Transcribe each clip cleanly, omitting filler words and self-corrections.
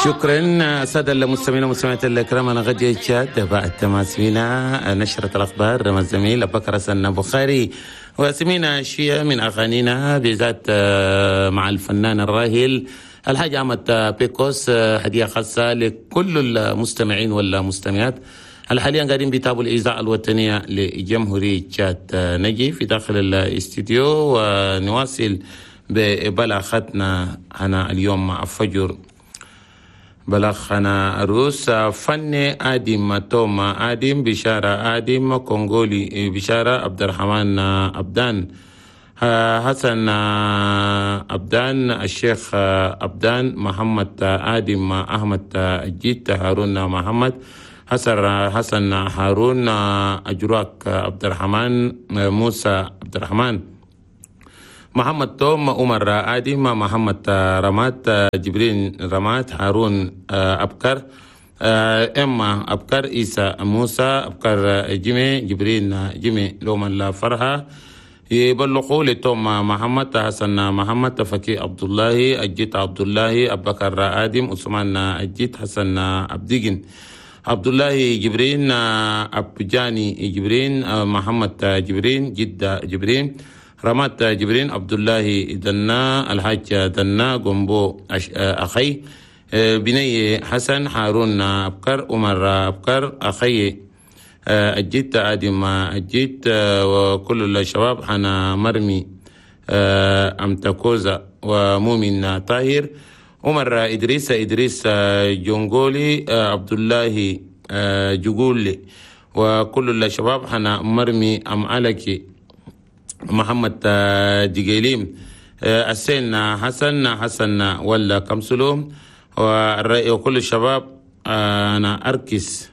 شكرا سادة المستمعين والمستمعات الكرام. أنا غدي تشاد بعد ما سمينا نشرة الأخبار مع الزميل أبو بكر حسن بخاري، وسمينا شيء من أغانينا بالذات مع الفنان الراهل الحاج أحمد بيكوس، هدية خاصة لكل المستمعين والمستمعات حاليا قاعدين بيتابعوا الإذاعة الوطنية لجمهورية تشاد. نجي في داخل الاستديو ونواصل ببلاغتنا هنا اليوم مع فجر. بلغنا عروس فني آدم توما آدم بشارة آدم كونغولي بشارة عبد الرحمن أبدان حسن أبدان الشيخ أبدان محمد آدم أحمد الجيت هارون محمد حسن هارون أجراك عبد الرحمن موسى عبد الرحمن محمد توم عمر آدم محمد رمات جبرين رمات هارون أبكر إما أبكر إيسى موسى أبكر جيمي جبرين جيمي لوم الفرحة يبلغوا لتوم محمد حسن محمد فكي عبد الله الجيت عبد الله أبكر آدم عثمان الجيت حسن أبديجن عبد الله جبرين أبجاني جبرين محمد جبرين جدة جبرين رمات جبرين عبد الله دنا الحاج دنا جنبو أخي بني حسن هارون أبكر عمر أبكر أخي الجيت آدم الجيت وكل الشباب حنا مرمي أمتكوزا ومؤمن طاهر عمر إدريس إدريس جونغولي عبد الله جوغولي وكل الشباب حنا مرمي أم علكي محمد دجيليم السين حسن حسن ولا كمسلوم وكل الشباب أنا أركس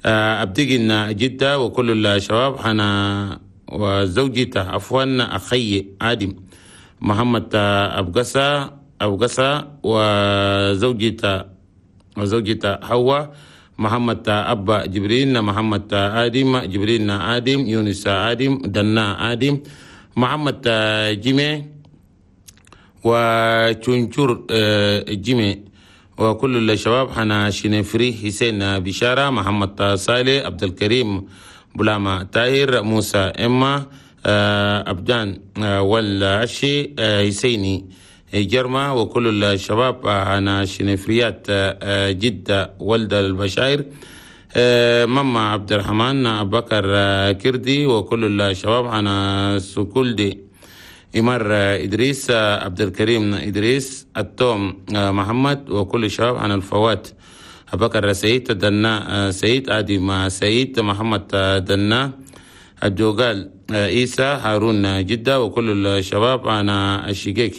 أبدجن جدة وكل الشباب أنا وزوجته عفوا أخي آدم محمد أبقسة وزوجته حواء محمد أبا جبرين محمد آدم جبرين آدم يونس آدم دنا آدم محمد جيمي وتشنشور جيمي وكل الشباب حنا شنفري حسين بشارة محمد صالح عبد الكريم بلاما طاهر موسى إما أبدان والعشي حسيني جرما وكل الشباب أنا شنفريات جدة ولد البشاير ماما عبد الرحمن أبو بكر كردي وكل الشباب أنا سكولدي إمار إدريس عبد الكريم إدريس التوم محمد وكل الشباب عن الفوات أبو بكر سعيد دنا سعيد آدم سعيد محمد دنا الجوغال عيسى هارون جدة وكل الشباب أنا الشقيق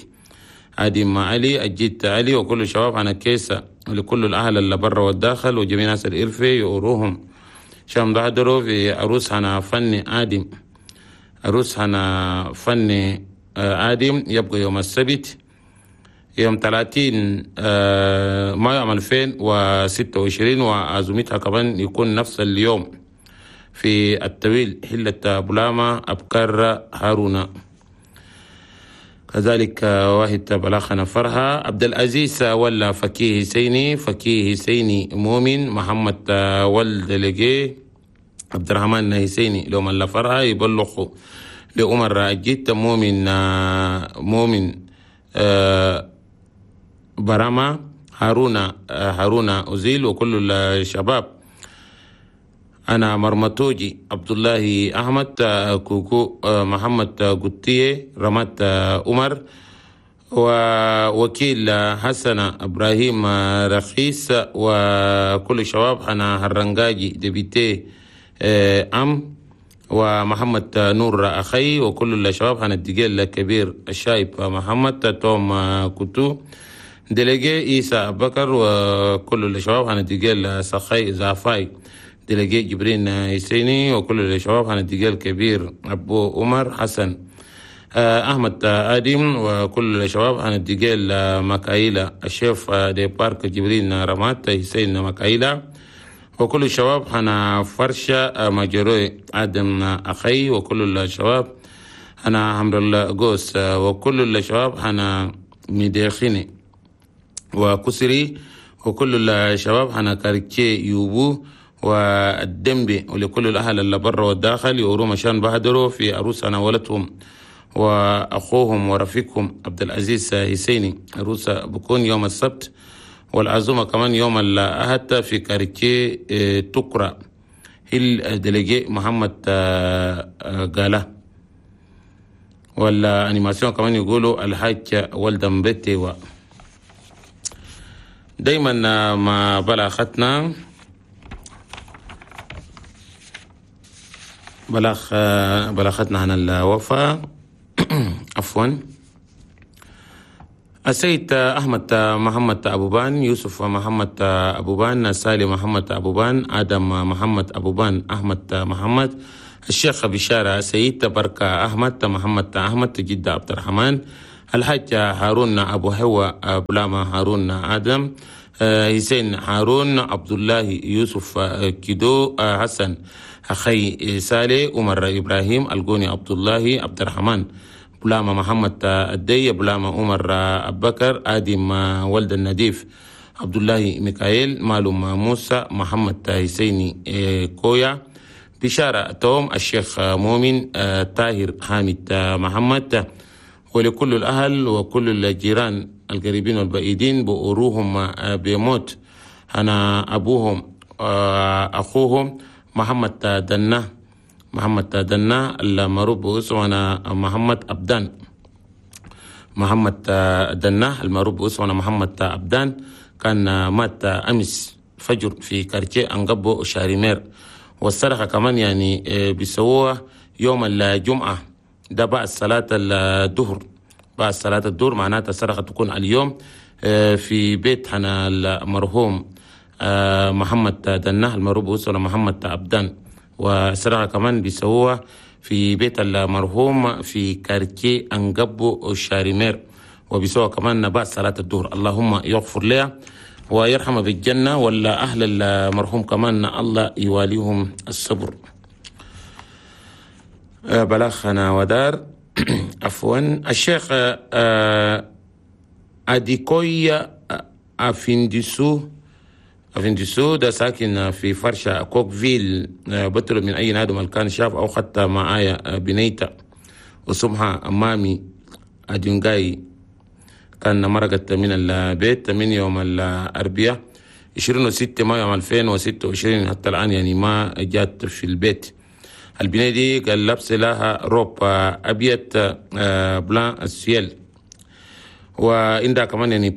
آدم علي الجيت علي وكل الشباب عن الكيسة ولكل الأهل اللي برا والداخل وجميع ناس الإرفي يقروهم شام بحضروا في عروس هنا فني آدم عروس هنا فني آدم يبقى يوم السبت يوم 30 مايو 2026 وعزومتها كمان يكون نفس اليوم في التويل حلة بلاما أبكر هارون. كذلك واحد بلاخنا فرحة عبد العزيز ولا فكيه سيني فكيه سيني مؤمن محمد ولد لقي عبد الرحمن حسيني لو من فرحة يبلغوا لعمر الجيت مؤمن برما هارون أزيل وكل الشباب. أنا مرمتوجي عبد الله أحمد كوكو محمد قطية رمات عمر ووكيل حسن إبراهيم رخيص وكل الشباب. أنا هرنجاجي دبيتي أم ومحمد نور أخي وكل الشباب. أنا الدجال الكبير الشايب محمد توم كتو دلجي إيسى بكر وكل الشباب. أنا الدجال سخي زافاي دلجي جبرين حسيني وكل الشباب. أنا الدجال الكبير أبو عمر حسن أحمد آدم وكل الشباب. أنا الدجال مكايلة الشيف دي بارك جبرين رمات حسين مكايلة وكل الشباب. أنا فرشة مجروي آدم أخي وكل الشباب. أنا حمد الله قوس وكل الشباب. أنا مديخيني وكسري وكل الشباب هنا كاركي يوبو والدنبي، ولكل الأهل اللي برا والداخل يوروا مشان بهدروا في عروسنا ولدهم وأخوهم ورفيقهم عبد العزيز حسيني. عروسة بكون يوم السبت، والعزومة كمان يوم الأحد في كاركي تكرا هل délégué محمد قاله. وال animation كمان يقولوا الحاج ولدن بيتي. دايما ما بلاختنا بلاختنا عن الوفاة عفوا السيد أحمد محمد أبوبان، يوسف محمد أبوبان، سالم محمد أبوبان، آدم محمد أبوبان، أحمد محمد، الشيخ بشارة سيد بركة أحمد محمد أحمد، جدة عبد الرحمن، الحاج هارون أبو هوا بلاما هارون آدم، حسين هارون، عبد الله يوسف كيدو، حسن أخي سالي، عمر إبراهيم الجوني، عبد الله عبد الرحمن، بلاما محمد الدي، بلاما عمر أبكر، آدم ولد النديف، عبد الله ميكائيل، مالوم موسى، محمد حسيني كويا، بشارة توم، الشيخ مؤمن، طاهر حامد محمد، ولكل الأهل وكل الجيران القريبين والبعيدين بأروهم بموت أنا أبوهم أخوهم محمد دنا، محمد دنا المعروف باسمه أنا محمد أبدان، محمد دنا المعروف باسمه أنا محمد أبدان، كان مات أمس فجر في quartier أنقبو شاريمير. والصرخة كمان يعني بيسووها يوم الجمعة ده بعد صلاة الظهر، بعد صلاة الظهر معناتها الصرخة تكون اليوم في بيت حنا المرحوم محمد دناه المعروف باسمه محمد أبدان. والصرخة كمان بيسووها في بيت المرحوم في quartier أنقبو شاريمير، وبيسووها كمان بعد صلاة الظهر. اللهم يغفر لها ويرحمه بالجنة، ولا أهل المرحوم كمان الله يواليهم الصبر. بلاخنا ودار عفوا الشيخ أديكويا أفندسو ده ساكن في فرشة كوكفيل، بطلب من أي نادم كان شاف أو حتى معايا بنيتا وسمها أمامي أدينغاي، كان مرقت من البيت من يوم الأربعاء 26 مايو 2026 حتى الآن يعني ما جات في البيت. البنية دي قال لبس لها روب أبيض blanc ciel، وعندها كمان يعني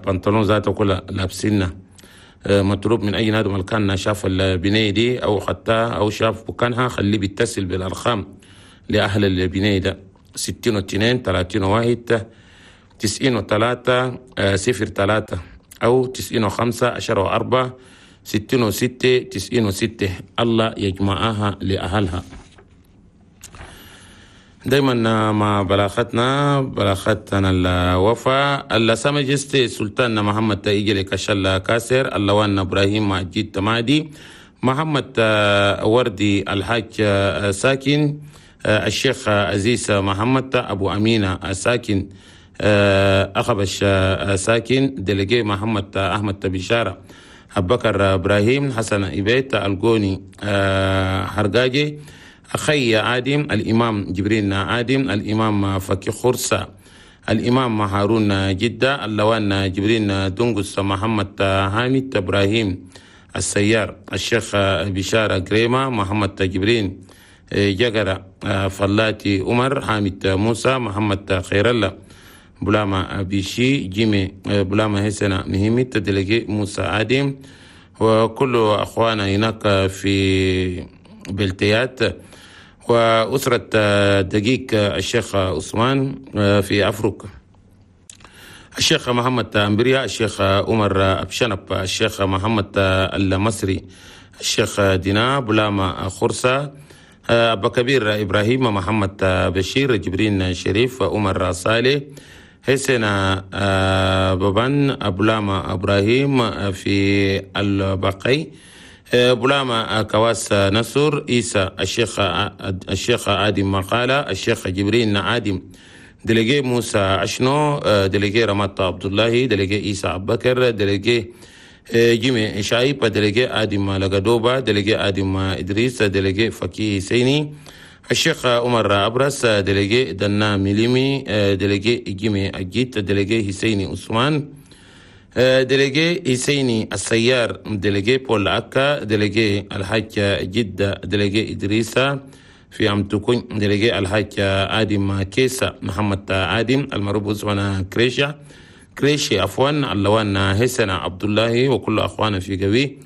بنطلون ذاته كلها لابسينها. مطلوب من أي نادم كان شاف البنية دي أو حتى أو شاف بكانها خليه بيتصل بالأرقام لأهل البنية ده 62 31 93 03 أو 95 10 4 66 96. الله يجمعها لأهلها. دايما مع بلاختنا الوفاء السامجستي سلطان محمد تيجي كشل كاسر، اللوان إبراهيم مجيد تمادي، محمد وردي الحاج ساكن، الشيخ عزيز محمد أبو أمينة ساكن، أخبش ساكن، دلقي محمد أحمد بشارة، أبكر إبراهيم، حسن إبيت الجوني حرقاجي، أخي عادم، الإمام جبرين عادم، الإمام فكي خرسة، الإمام هارون جدة، اللوان جبرين دنقس، محمد حامد إبراهيم السيار، الشيخ بشارة كريمة، محمد جبرين جقرة، فلاتي عمر، حامد موسى، محمد خير الله، بلاما بيشي جيمي، بلاما هسنا مهمي، تدلقي موسى عادم، وكل أخوانا هناك في بلتيات، وأسرة دقيق الشيخ عثمان في أفريقيا، الشيخ محمد أمبريا، الشيخ عمر أبشنب، الشيخ محمد المصري، الشيخ دينا بلاما خرسة، أبا كبير إبراهيم، محمد بشير، جبرين شريف، عمر صالح، حسين بابان، بلاما إبراهيم في البقي، بلاما كواس نصر، عيسى، الشيخ عادم مقالة، الشيخ جبرين عادم délégué موسى أشنو، délégué رمات عبد الله، délégué عيسى أبكر، délégué جيمي شايب، délégué آدم لقدوبة، délégué آدم إدريس، délégué فكي سيني، الشيخ عمر أبرس، délégué دنا ميليمي، délégué جيمي أجيت، délégué حسيني عثمان، délégué حسيني السيار، délégué بول أكا، délégué الحاج جدة، délégué إدريسا في أمتكون، délégué الحاج آدم كيسا محمد آدم المعروف اسمنا كريشة كريشي عفوا، اللوان حسن عبد الله وكل أخوانا في قوي،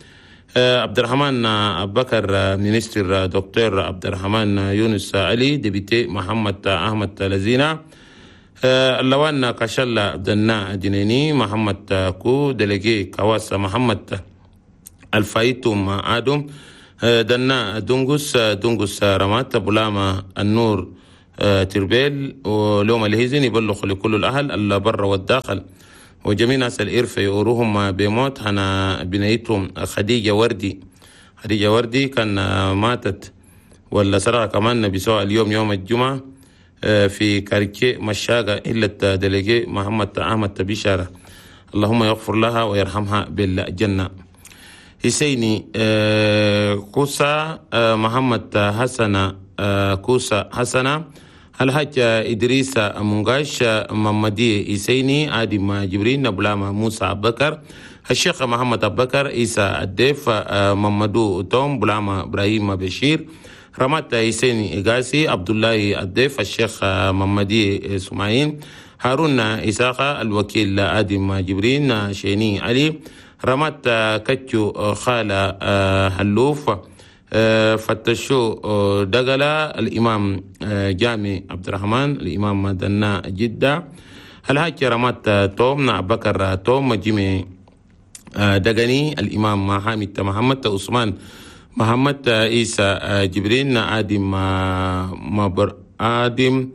عبد الرحمن بكر ministre دكتور عبد الرحمن يونس علي، député محمد أحمد لزينة، اللوان كشلا دنا دينيني محمد كو، délégué كواس محمد الفايتوم آدم، دنا دونغوس دونغوس رمات، بلاما النور تربيل. ولوم الهزن يبلغ لكل الأهل البر والداخل وجميع ناس الإرفة يوروهم بموت هنا بنيتهم خديجة وردي. خديجة وردي كان ماتت ولا سرعة كمان بسواء اليوم يوم الجمعة في quartier مشاقة إلا délégué محمد أحمد بشارة، اللهم يغفر لها ويرحمها بالجنة. حسيني كوسا محمد حسن كوسا حسنة، الحاج إدريس منغاش، محمدي حسيني، آدم جبرين، بلاما موسى بكر، الشيخ محمد أبكر، عيسى الديف، محمدو توم، بلاما إبراهيم بشير، رمات حسين إغاسي، عبد الله الديف، الشيخ محمدي سماعين، هارون إساقة، الوكيل آدم جبرين، شيني علي، رمات كتشو خالة هلوف، فتشو دقلة، الإمام جامي عبد الرحمن، الإمام دنا جدة، الحاج رمات توم، بكر توم، جيمي دقني، الإمام حامد محمد عثمان محمد عيسى جبرين، آدم آدم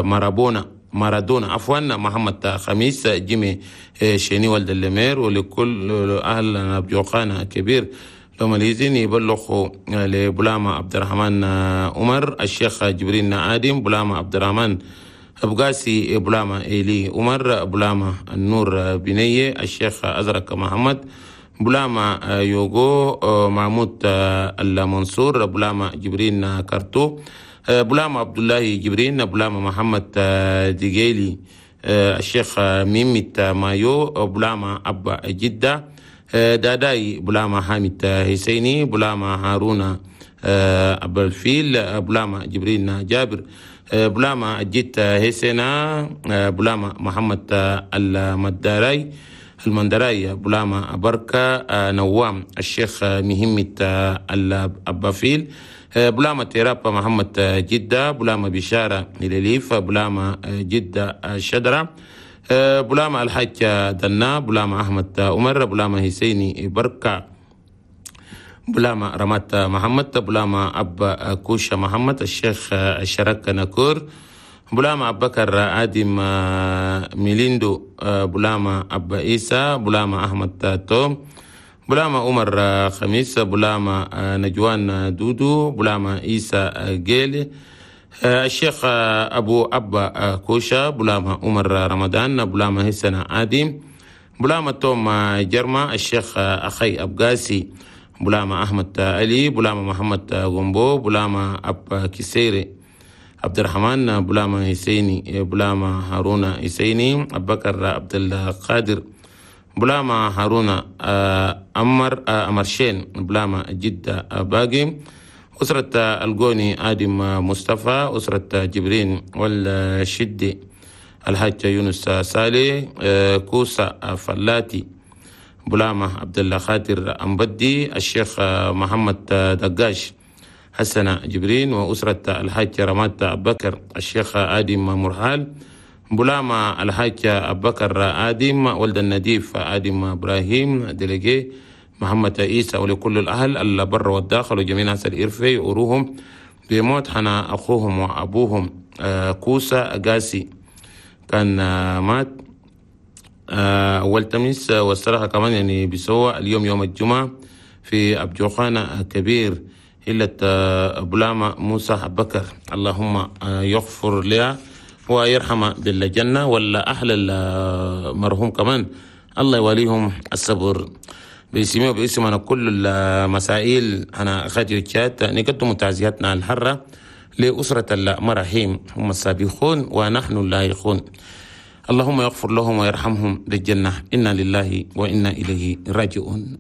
مارابونا مارادونا عفوا، محمد خميس، جيمي شيني ولد اللمير، ولكل أهل بجوخانة كبير لهم الإذن يبلغوا لبلاما عبد الرحمن عمر، الشيخ جبرين آدم، بلاما عبد الرحمن أبقاسي، بلاما إيلي عمر، بلاما النور بنية، الشيخ أزرق محمد، بلاما يوغو محمود المنصور، بلاما جبرين كارتو، بلاما عبد الله جبرين، بلاما محمد ديجيلي، الشيخ ميميت مايو، بلاما أبا جدة، داداي، بلاما حامد حسيني، بلاما هارون أبو الفيل، بلاما جبرين جابر، بلاما جيت حسينا، بلاما محمد المداراي المندراي، بلاما بركة نوام، الشيخ مهمة الأبافيل، بلاما تيرابا محمد جدة، بلاما بشارة لليف، بلاما جدة الشدرة، بلاما الحاج دنا، بلاما أحمد عمر، بلاما حسيني بركة، بلاما رمات محمد، بلاما أبا كوشة محمد، الشيخ الشرك نكور، بلاما أبكر آدم ميليندو، بلاما أبا إيسى، بلاما أحمد توم، بلاما عمر خميس، بلاما نجوان دودو، بلاما إيسى جيل، الشيخ أبو أبا كوشا، بلاما عمر رمضان، بلاما حسن آدم، بلاما توم جرما، الشيخ أخي أبقاسي، بلاما أحمد علي، بلاما محمد غومبو، بلاما أب كسيري عبد الرحمن، بلاما حسيني، بلاما هارون حسيني، أبكر عبد القادر، بلاما هارون أمر أمرشين، بلاما جدة باقي، أسرة القوني آدم مصطفى، أسرة جبرين والشدي، الحاج يونس سالي، كوسا فلاتي، بلاما عبد الله خاطر أمبدي، الشيخ محمد دقاش، حسن جبرين، وأسرة الحاج رمات أبكر، الشيخ آدم مرحال، بلاما الحاج أبكر آدم، ولد النديف آدم إبراهيم، délégué محمد عيسى، ولكل الأهل البر والداخل وجميع ناس الإرفي يوروهم بموت حنا أخوهم وأبوهم كوسا قاسي كان مات أول تميس. والصراحة كمان يعني بيسوى اليوم يوم الجمعة في أبجوخانة كبير هلة بلاما موسى بكر، اللهم يغفر لها ويرحمه بالجنة، ولا أهل المرحوم كمان الله يواليهم الصبر. باسمي وباسم أنا كل المسائل أنا راديو تشاد نقدم تعزياتنا الحارة لأسرة المراحيم، هم السابقون ونحن اللاحقون. اللهم يغفر لهم ويرحمهم بالجنة. إنا لله وإنا إليه راجعون.